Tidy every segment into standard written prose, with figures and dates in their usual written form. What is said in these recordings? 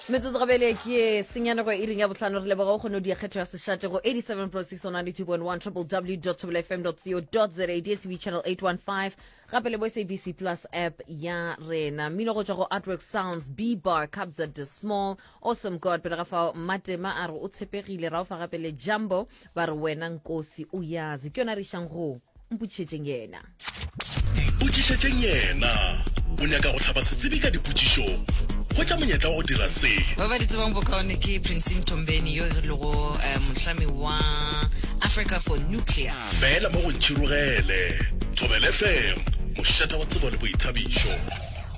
Metsotso gabele ke ye senyane go iring ya bohlano. Re leboga o kgone go dia kgetho ya sešate go 87.6 on 92.1 www.fm.co.za DSTV channel 815 gape le bo SABC Plus app ya rena. Mmino go tšwa go Artwork Sounds, B Bar, Kabza De Small, Awesome God. Pele ga fao Matema a re o tshepegile, ra o fa gape le Jumbo ba re wena Nkosi o yazi. Ke yona re išang go Mpotšišetšeng yena. Mpotšišetšeng yena. O nyaka go hlaba setsebi ka dipotšišo? Hwetša monyetla wa go dira se. Ba ba di tsebang bokaone ke Prince Mthombeni yo e lego mohlami wa Africa for Nuclear. Fela mo go Ntšhirogele. Thobela FM, mošate wa tsebo le boithabišo.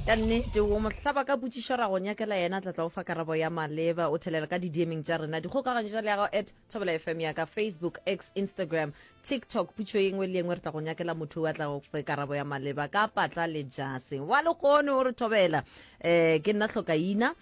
Ka nnete, o mo hlaba ka potšišo ra go nyakela yena, tla tla o fa karabo ya maleba. O thelela ka di-DMing tša rena, dikgokaganyo tša leago at Thobela FM ya ka Facebook, X, Instagram, TikTok. Putšo ye nngwe le ye nngwe re tla go nyakela motho a tla go fe karabo ya maleba ka patla le jase. Wa lekgono o re thobela. Eh, ke nna hlokaina.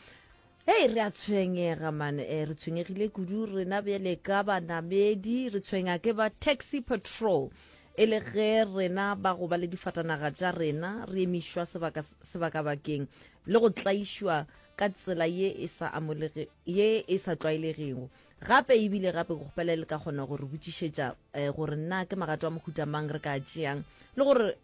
Hei, re a tshwenyega man, eh, re tshwenyegile kudu rena bjale ka banamedi, re tshwenya ke ba taxi patrol. E le ge rena ba go ba le difatanaga tša rena re emišwa sebaka sebakabakeng le go tlaišwa ka tsela ye e sa amolege ye e sa tlwaelegego. Gape e bile gape ke kgopela le ka kgona go re botšišetša eh, gore na ke magato a mohuta mang re ka a tšeang le gore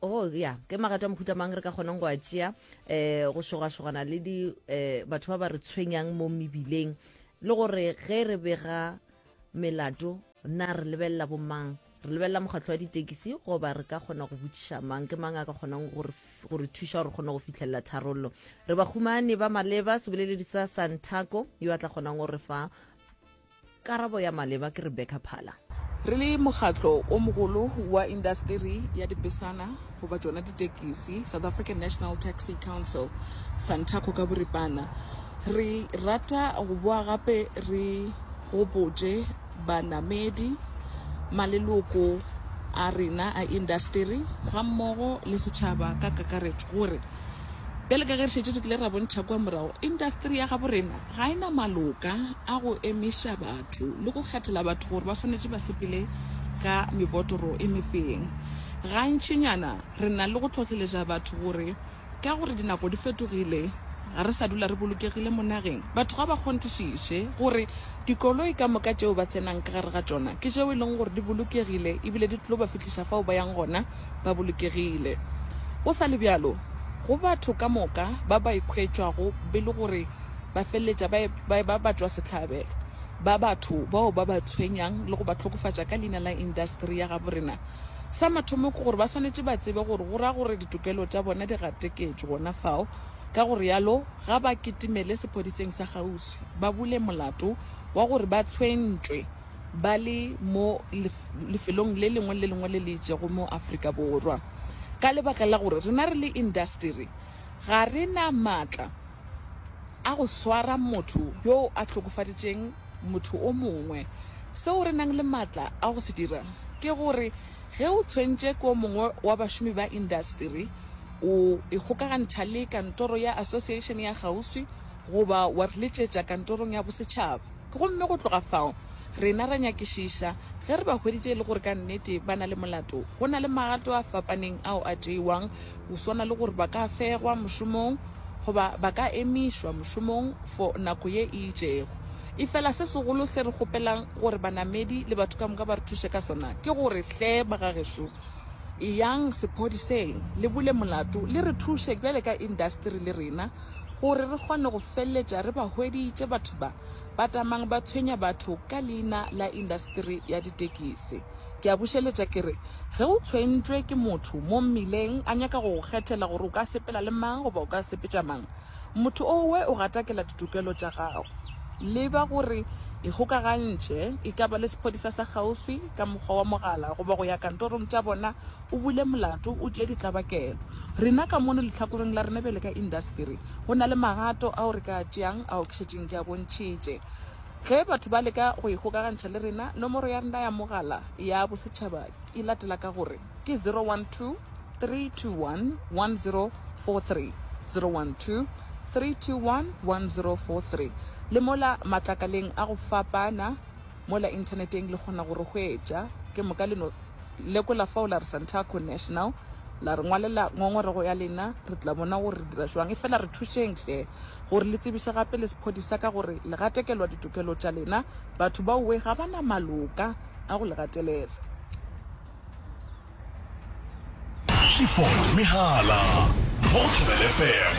oh ya ke magato a mohuta mang re ka kgonang go a tšea eh go šogašogana le di eh, batho ba ba re tshwenyang mo mebileng le gore ge re bega melato na re lebelela bomang re lebelela mokgatlo wa ditekisi goba re ka kgona go botšiša mang ke mang a ka kgonang go re thuša gore kgone go fitlhelela tharollo re ba humane ba maleba seboleledi sa santaco yo a tla kgonang go re fa karabo ya maleba ke rebecca phala Re le mokgatlo o mogolo wa indasteri ya dipesana goba tšona ditekisi, South African National Taxi Council, Santaco ka boripana, re rata go boa gape re gopotše banamedi, maleloko a rena a indasteri gammogo le setšhaba ka kakaretšo gore bjale ka ge re šetše re kile ra bontšha kua morago, indasteri ya gabo rena ga e na maloka a go emiša batho le go kgethela batho gore ba swanetše ba sepele ka mebotoro e mefeng. Gantšinyana re na le go hlohleletša batho gore Ka gore dinako di fetogile, ga re sa dula re bolokegile mo nageng. Batho ga ba kgonthišiše gore dikoloi ka moka tšeo ba tsenang ka gare ga tšona ke tšeo e leng gore di bolokegile ebile di tlo ba fihliša fao ba yang gona ba bolokegile. Go sa le bjalo, go batho ka moka ba ba ikhwetšwago be le gore ba feleletša ba ba eba batšwasehlabelo ba batho bao ba ba tshwenyang le go ba hlokofatša ka leina la indasteri ya gabo rena, Sa mathomo ke gore ba swanetše ba tsebe gore go ra gore ditokelo tša bona di gateketšwe gona fao, ka go realo ga ba kitimele sephodiseng sa kgauswi ba bule molato wa gore ba tshwentšwe ba le mo lefelong le lengwe le lengwe le le itšego mo Afrika Borwa. Ka lebaka la gore rena re le indasteri ga re na maatla a go swara motho yo a hlokofaditšeng motho o mongwe. Seo re nang le matla a go se dira ke gore ge o tshwentše ke o mongwe wa bašomi ba indasteri, o ikgokagantšha le kantoro ya association ya kgauswi goba wa re letšetša kantorong ya bosetšhaba. Gomme go tloga fao, rena ra nyakišiša ge re ba hweditše e le gore ka nnete ba na le molato. Go na le magato a fapaneng ao a tšeiwang go swana le gore ba ka fegwa mošomong goba ba ka emišwa mošomong for nako ye e itšego. Efela se segolo se re kgopelang gore banamedi le batho ka moka ba re thuše ka sona ke gore hle bagagešo eyang sephodiseng le bule molato le re thuše bjale ka indasteri le rena gore re kgone go feleletša re ba hweditše batho ba ba tamang ba tshwenya batho ka leina la indasteri ya ditekisi. Ke a bušeletša ke re ge o tshwentšwe ke motho mo mmileng a nyaka go go kgethela gore o ka sepela le mang goba o ka sepetša mang, Motho owe o gatakela ditokelo tša gago. Leba gore ikgokagantšhe, e ka ba le sephodisa sa kgauswi ka mokgwa wa mogala goba go ya kantorong tša bona o bule molato o tšee ditlabakelo. Rena ka mono lehlakoreng la rena bjale ka indasteri go na le magato ao re ka a tšeang ao ke šetšeng ke a bontšhitše. Ge batho ba leka go ikgokagantšha le rena, nomoro ya rena ya mogala ya bosetšhaba e latela ka gore ke 012 321 1043, 012 321 1043. Le mola matlakaleng a go fapana mola inthaneteng le kgona go re hwetša. Ke moka le no lekola fao la re Santaco National. La re ngwalela ngongorego ya lena, re tla bona gore re dira jwang. Efela re thušeng hle gore le tsebiše gape le sephodisa ka gore le gatekelwa ditokelo tša lena. Batho baowe ga ba na maloka a go le gatelela. Clifford Mehala mo go Thobela FM.